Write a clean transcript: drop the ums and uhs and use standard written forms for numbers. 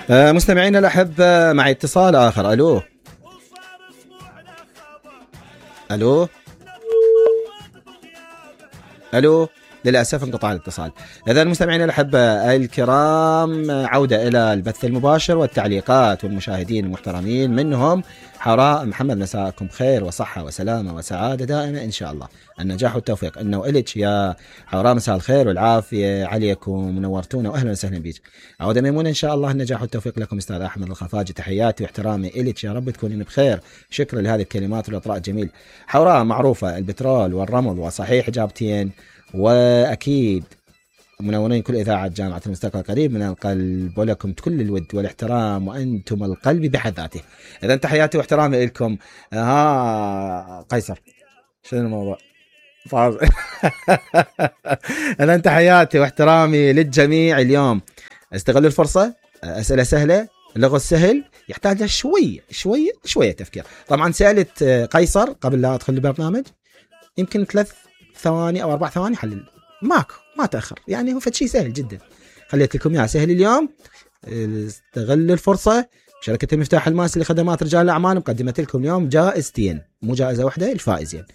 مستمعينا الأحبة، معي اتصال آخر. ألو ألو ألو، للأسف انقطع الاتصال. إذا مستمعينا الأحبة الكرام، عودة إلى البث المباشر والتعليقات والمشاهدين المحترمين منهم حوراء محمد. مساءكم خير وصحة وسلامة وسعادة دائمة إن شاء الله. النجاح والتوفيق إنه إليك يا حوراء، مساء الخير والعافية عليكم، منورتونا وأهلا وسهلا بيك. عودة ميمونة إن شاء الله. النجاح والتوفيق لكم أستاذ أحمد الخفاجي، تحياتي واحترامي إليك، يا رب تكونين بخير. شكرا لهذه الكلمات والإطراء الجميل. حوراء معروفة البترول والرمل، وصحيح إجابتين، وأكيد منورين كل إذاعة جامعة المستقبل قريب من القلب، ولكم كل الود والاحترام وأنتم القلب بحد ذاته. إذا تحياتي واحترامي لكم. قيصر شنو الموضوع؟ إذا تحياتي واحترامي للجميع. اليوم استغلوا الفرصة، أسئلة سهلة، اللغة السهل يحتاج شوية تفكير. طبعا سألت قيصر قبل لا أدخل البرنامج يمكن 3 ثواني أو 4 ثواني حلل، ما تأخر، يعني هو فشي سهل جدا. خليت لكم إياه سهل اليوم. استغلوا الفرصة. شركة المفتاح الماسي لخدمات رجال الأعمال مقدمت لكم اليوم جائزتين، مو جائزة واحدة، الفائزين.